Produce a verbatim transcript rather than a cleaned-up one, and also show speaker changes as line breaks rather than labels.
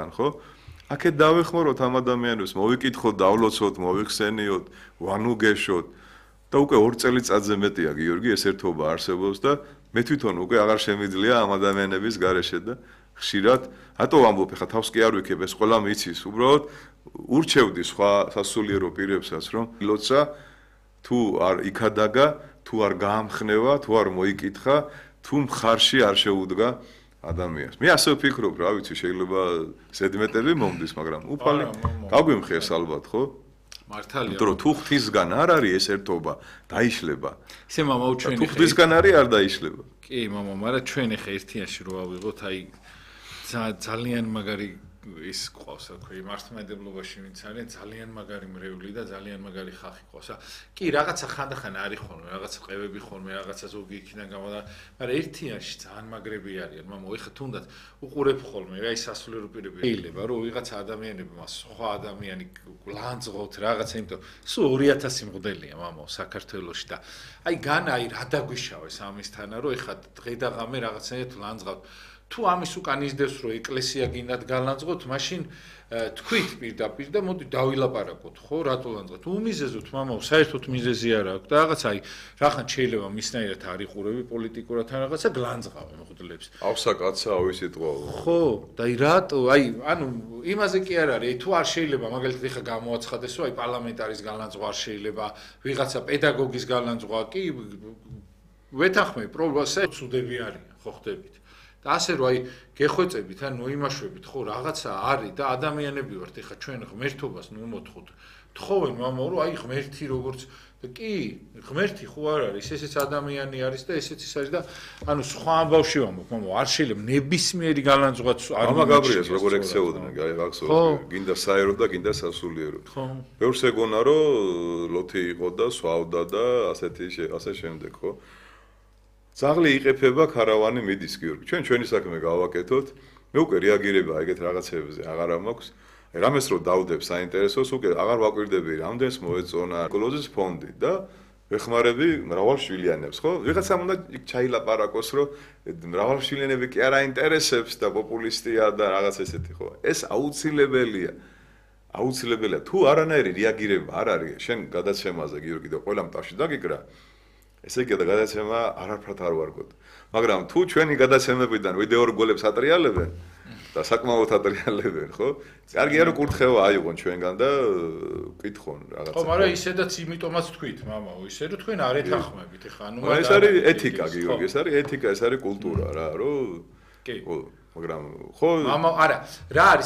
ყველგან, ხო? აქეთ დავეხმაროთ ამ ადამიანებს, მოვიკითხოთ, დავლოცოთ, მოვიხსენიოთ, ვანუგეშოთ და უკვე ორ წელიწადზე მეტია გიორგი ეს ერთობა არსებობს და მე თვითონ უკვე აღარ შემიძლია ამ ადამიანების გარეშე და ხშირად, რატო ვამბობ, ხა თავს კი არ ვიქებ, ეს ყველა მიცის, უბრალოდ ურჩევდი სხვა სასულიერო პირებსაც, რომ ლოცა თუ არ იქადაგა, თუ არ გაამხნევა, თუ არ მოიკითხა, თუ მხარში არ შეუდგა ადამიანს. მე ასე ვფიქრობ, რა ვიცი, შეიძლება ზედმეტები მომდის, მაგრამ უფალი გაგვიმხეს ალბათ, ხო?
მართალია.
იმიტომ რომ თუ ღვთისგან არ არის ეს ერთობა, დაიშლება.
ისე მამა უჩვენი
თუ ღვთისგან არის, არ დაიშლება.
კი, მამა, მაგრამ ჩვენ ახლა ერთიანში რო ავიღოთ, აი ძალიან მაგარი ის ყავს, რა ქვია, მართლმადიდებლობაში ვინც არის, ძალიან მაგარი მრევლი და ძალიან მაგარი ხალხი ყავს. კი, რაღაცა ხანდახან არის ხოლმე, რაღაცა ყევები ხოლმე, რაღაცა ზოგი იქიდან გამოდა, მაგრამ ერთიანში ძალიან მაგრები არიან. მამა, ეხლა თუნდაც უყურებ ხოლმე, რა ის სასულიერო პირები. შეიძლება რომ ვიღაცა ადამიანები მას სხვა ადამიანი ლანძღოთ რაღაცა, იმიტომ სულ ორი ათასი მღვდელია, მამა, საქართველოში და აი გან აი რა დაგვიშავეს ამისთანა, რომ ეხლა დღე და ღამე რაღაცნაირად ლანძღავთ. თუ ამის უკან ისდევს რომ ეკლესია გინდათ გალანძღოთ, მაშინ თქვით პირდაპირ და მოდი დავილაპარაკოთ, ხო, რატო ლანძღოთ? უმიზეზოთ, მამაო, საერთოდ მიზეზი არ აქვს და რაღაც აი, რახან შეიძლება მისნაირად არ იყურები პოლიტიკურად ან რაღაცა გლანძღავენ მღვდლებს.
ავსა კაცა ავი სიტყვა.
ხო, და აი რატო, აი, ანუ იმაზე კი არ არის, თუ არ შეიძლება, მაგალითად ეხა გამოაცხადეს, რომ აი პარლამენტარის გალანძღვა არ შეიძლება, ვიღაცა პედაგოგის გალანძღვა კი ვეთანხმები, პრობლემასა ცუდები არიან, ხო ხდებით. და ასე რომ აი გეხვეწებით ან მოიმაშვებით ხო რაღაცა არის და ადამიანები ვართ ეხა ჩვენ ღმერთობას ნუ მოთხოთ თხოვენ მამა რომ აი ღმერთი როგორც და კი ღმერთი ხო არ არის ესეც ადამიანი არის და ესეც ის არის და ანუ სხვა ამბავში ვამბობ მამა არ შეიძლება ნებისმიერი გალანძღვაც არ
მამა გაბრიელს როგორ ექცეოდნენ გახსოვს გინდა საერო და გინდა სასულიერო
ხო
ბევრს ეგონა რომ ლოთი იყო და სვავდა და ასეთი ასე შემდეგ ხო ძაღლი იყეფება, ქარავანი მიდის გიორგი. ჩვენ ჩვენი საქმე გავაკეთოთ. მე უკვე რეაგირება ეგეთ რაღაცებზე აღარ მაქვს. რამეს რო დავდებ საინტერესოს, უკვე აღარ ვაკვირდები, რამდენს მოეწონა ეკოლოგიის ფონდი და ვეხმარები მრავალშვილიანებს, ხო? ვიღაცამ უნდა ჩაილაპარაკოს, რომ მრავალშვილიანები კი არ აინტერესებს და პოპულისტია და რაღაც ესეთი, ხო? ეს აუცილებელია. აუცილებელია. თუ არანაირი რეაგირება არ არის შენ გადაცემაზე გიორგი და ყველა მტაში დაგიკრა ესე იგი და გადაცემა არაფრად არ ვარგოთ. მაგრამ თუ ჩვენი გადაცემებიდან ვიდეო რგოლებს ატრიალებენ და საკმაოდ ატრიალებენ, ხო? კარგია რომ კურთხევა აიღონ ჩვენგან და ვკითხონ რაღაცა.
ხო, მაგრამ ისედაც იმიტომაც თქვით, მამაო, ისე რომ თქვენ არ ეთანხმებით, ეხა ანუ
ეს არის ეთიკა, გიორგი, ეს არის ეთიკა, ეს არის კულტურა რა, რომ
კი.
მაგრამ ხო
მამა, არა, რა არის